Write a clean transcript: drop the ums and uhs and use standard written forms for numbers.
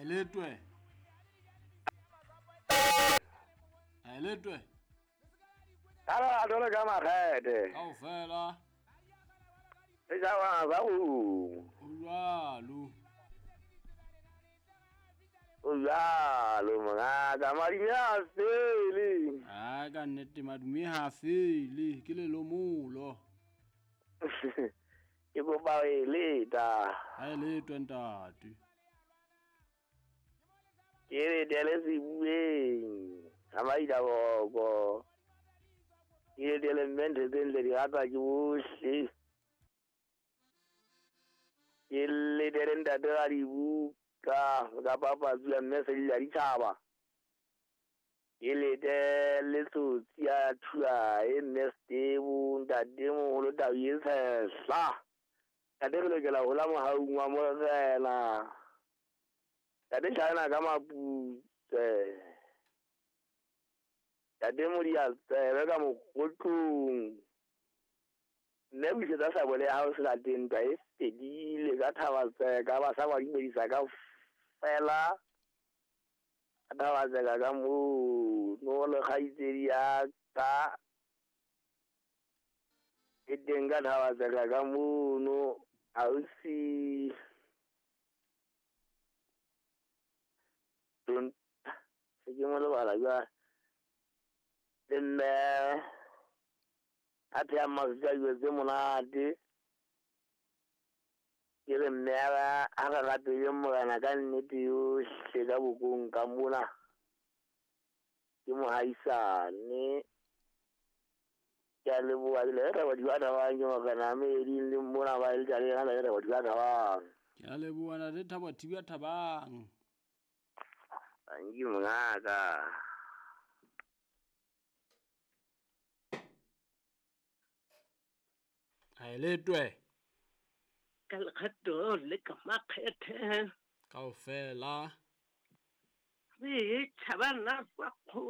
Aeletwe. Aeletwe. Ka lerato le ka makgethe. Kaofela. Setjhaba sa O jwalo. O jwalo mongaka, madume ha a fele. Ai ka nnete madume ha a fele, ke lelomolo. Ke kopa ho e leta. Ha e letwe ntate. Ke letele sebueng sa Maidaboko. Ke letele mme ntho tse ntle di ratwa ke bohle. Ke letele ntate wa dibuka ka papatso ya mme Selila Ditjhaba. Ke letele tsotsi ya Thuae mme Setebo ntate moholo Tau e tshehla. Ntate re lokela ho hola mohaung wa Morena. Ntate China ka maputse. Ntate Modiatsebe ka mokotlong. Mme busetsa sabole ya hao selateng ntwa e fedile ka Thabatseka ba sa ba dumedisa ka fela. Ka Thabatseka ka moo no le kgaitsedi ya ka e teng ka Thabatseka ka mono ausi se ke mo lebala jwale le mme a phehang mafika a dijo tse monate. Ke re mme a re rapele Morena ka nnete yohle ka bokong ka mona. Ke mohaisane. Ke a leboha le re batho ba thabang ke Morena a meeding le mona ba le tla le yena le re batho ba thabang. Ke a leboha ntate Thabo Thiba Thabang. Thank you mongaka. Aeletwe. Ka lekgato le ka makgethe. Kaofela. Re tšhabana sa kgo.